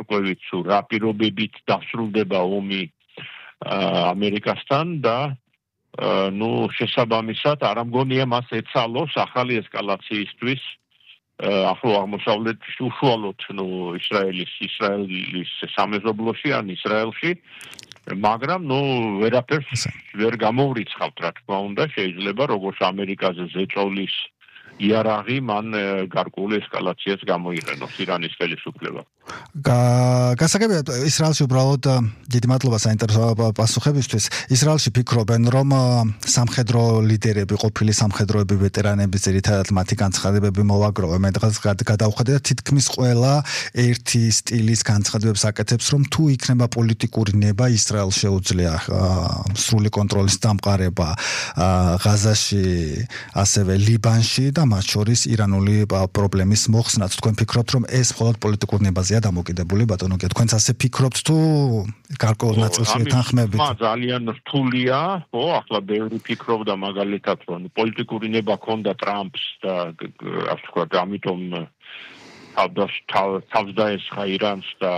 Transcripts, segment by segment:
განსხვავებით თუ რა პირობებით დასრულდება ომი ამერიკასთან და შესაბამისად არ ამგონია მას ეცალოს ახალი ესკალაციისთვის ახლო აღმოსავლეთში უშუალოდ ისრაელის სამეზობლოში ან ისრაელში მაგრამ ვერაფერს ვერ გამოვრიცხავთ რა თქმა უნდა შეიძლება როგორც ამერიკაზე ზეწოლის იარაღი მან გარკვეული ესკალაციას გამოიყენოს ირანის ხელისუფლება. გასაგებია ისრაელში უბრალოდ დიდი მადლობა საინტერესო პასუხებისთვის. ისრაელში ფიქრობენ რომ სამხედრო ლიდერები, ყოფილი სამხედროები, ვეტერანები ძირითადად მათი განცხადებები მოვაგროვე. მე დღეს გადავხედე და თითქმის ყველა ერთი სტილის განცხადებებს აკეთებს რომ თუ იქნება პოლიტიკური ნება ისრაელს შეუძლია სრული კონტროლის დამყარება ღაზაში, ასევე ლიბანში და მათ შორის ირანული პრობლემის მოხსნაც. თქვენ ფიქრობთ რომ ეს მხოლოდ პოლიტიკურ ნებაზეა დამოკიდებული ბატონო გია თქვენც ასე ფიქრობთ თუ გარკვეულ ნაწილში ეთანხმებით? ძალიან რთულია, ახლა ბევრი ფიქრობდა მაგალითად რომ პოლიტიკური ნება ქონდა ტრამპს და ასე ვთქვათ, ამიტომ თავს დაესხა ირანს და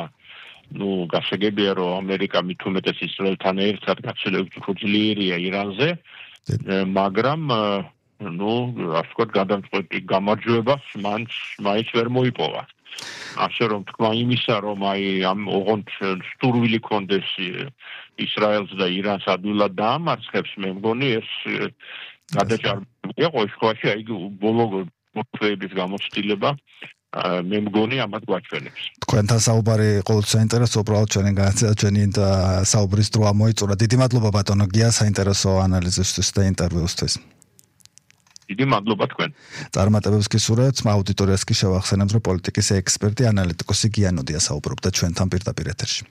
გასაგებია რომ ამერიკა მით უმეტეს ისრაელთან ერთად გაცილებით უფრო ძლიერია ირანზე, მაგრამ ასე ვთქვათ, გადამწყვეტი გამარჯვებას მაინც ვერ მოიპოვა. ასე რომ თქვა იმისა, რომ ამ ოღონდ სტურვილი კონდეს ისრაელს და ირანს ადვილად დაამარცხებს, მე მგონი ეს გადაჭარბებულია ყოველ შემთხვევაში, ბოლო მოთხრეების გამოცდილება მე მგონი ამათ გვაჩვენებს. თქვენთან საუბარი ყოველთვის საინტერესო, უბრალოდ ჩვენი საუბრის დრო მოიწურა. დიდი მადლობა ბატონო გია საინტერესო ანალიზისთვის და ინტერვიუსთვის. დიდი მადლობა თქვენ. წარმატებებს გისურვებთ, აუდიტორიას კი შევახსენებთ, რომ პოლიტიკის ექსპერტი, ანალიტიკოსი გიანოდია საუბრობდა ჩვენთან პირდაპირ ეთერში.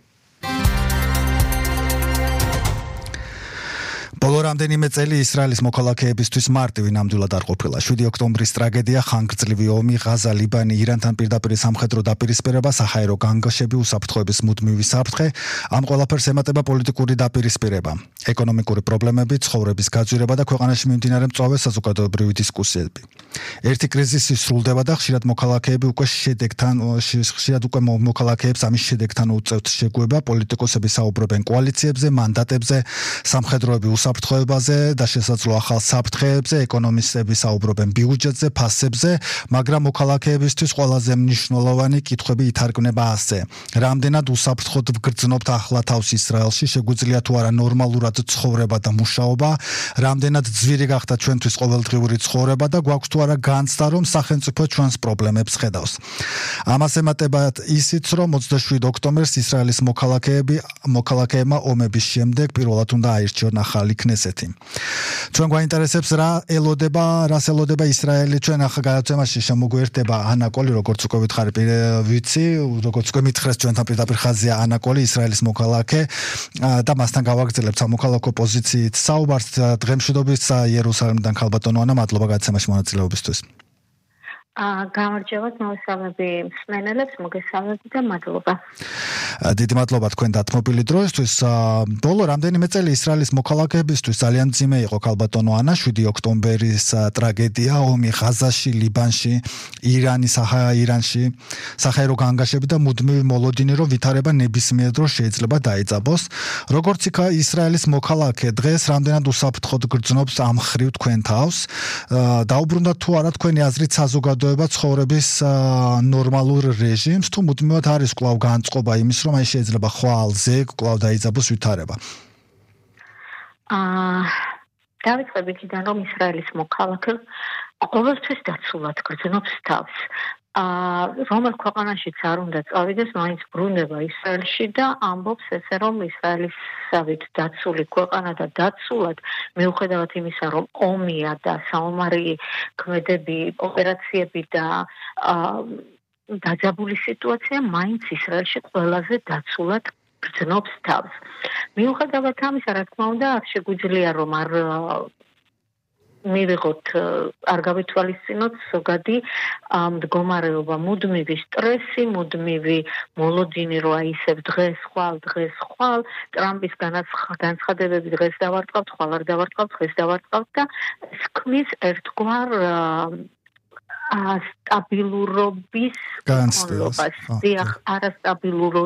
ბოლო რამდენიმე წელი ისრაელის მოქალაქეებისთვის მარტივი ნამდვილად არ ყოფილა. 7 ოქტომბრის ტრაგედია, ხანგრძლივი ომი, ღაზა, ლიბანი, ირანთან პირდაპირ სამხედრო დაპირისპირება, საჰაერო განგაშები, უსაფრთხოების მუდმივი საფრთხე, ამ ყველაფერს ემატება პოლიტიკური დაპირისპირება, ეკონომიკური პრობლემები, ცხოვრების გაძვირება და ქვეყანაში მიმდინარე მწვავე საზოგადოებრივი დისკუსიები. ერთი კრიზისი სრულდება და ხშირად მოქალაქეებს ამის შედეგთან უწევთ შეგუება, პოლიტიკოსები საუბრობენ კოალიციებზე, მანდატებზე, სამხედროები საფრთხეებაზე და შესაძლო ახალ საფრთხეებზე, ეკონომისტები საუბრობენ ბიუჯეტზე, ფასებზე, მაგრამ მოქალაქეებისთვის ყველაზე მნიშვნელოვანი კითხვები ითარგმნება ასე: რამდენად უსაფრთხოდ ვგრძნობთ ახლა თავს ისრაელში, შეგვიძლია თუ არა ნორმალურად ცხოვრება და მუშაობა, რამდენად ძვირი გახდა ჩვენთვის ყოველდღიური ცხოვრება და გვაქვს თუ არა განცდა, რომ სახელმწიფო ჩვენს პრობლემებს ხედავს. ამას ემატებათ ისიც, რომ 27 ოქტომბერს ისრაელის მოქალაქეებმა ომების შემდეგ პირველად უნდა აირჩიონ ახალი ქნესეთი. ჩვენ გვაინტერესებს რას ელოდება ისრაელი. ჩვენ ახლა გადაცემაში შემოგვიერთდება ანა კოლი, როგორც უკვე ვითხარი, ვიცი, როგორც უკვე მითხრეს ჩვენთან პირდაპირ ხაზია ანა კოლი, ისრაელის მოქალაქე და მასთან გავაგრძელებთ სამოქალაქო პოზიციით საუბარს. დღემშვიდობის იერუსალიმიდან ქალბატონო ანა, მადლობა გადაცემაში მონაწილეობისთვის. გამარჯობა, მოგესალმები მსმენელებს, მოგესალმები და მადლობა. დიდი მადლობა თქვენ დათმობილი დროისთვის. ბოლო რამდენიმე წელი ისრაელის მოქალაქეებისთვის ძალიან მძიმე იყო ქალბატონო ანა, 7 ოქტომბერის ტრაგედია, ომი ღაზაში, ლიბანში, ირანში, საჰაერო განგაშები და მუდმივი მოლოდინი, რომ ვითარება ნებისმიერ დროს შეიძლება დაიძაბოს. როგორც იქ ისრაელის მოქალაქე დღეს რამდენად უსაფრთხოდ გრძნობს ამ ხრივ თქვენ თავს? დაუბრუნდათ თუ არა თქვენი აზრით საზოგადოება ცხოვრების ნორმალურ რეჟიმს, თუ მუდმივად არის კვლავ განწყობა იმის, რომ შეიძლება ხვალზე კვლავ დაიძაბოს ვითარება? დავიწყებ იქიდან, რომ ისრაელის მოქალაქე ყოველთვის დაცულად გრძნობს თავს. რომელ ქვეყანაშიც არ უნდა წავიდეს, მაინც ბრუნდება ისრაელში და ამბობს ესე, რომ ისრაელისავით დაცული ქვეყანა და დაცულად, მიუხედავად იმისა, რომ ომია და საომარი ქმედები, ოპერაციები და დაძაბული სიტუაცია, მაინც ისრაელში ყველაზე დაცულად გრძნობს თავს. მიუხედავად ამისა, რა თქმა უნდა, არ შეგვიძლია რომ არ გავითვალისწინოთ ზოგადი მდგომარეობა, მუდმივი სტრესი, მუდმივი მოლოდინი, რომ ისევ დღეს ხვალ, ტრამპის განცხადებები დღეს დავარტყავთ, ხვალ არ დავარტყავთ, დღეს დავარტყავთ და ეს ქმნის ერთგვარ სტაბილურობის განცდას. არასტაბილურობის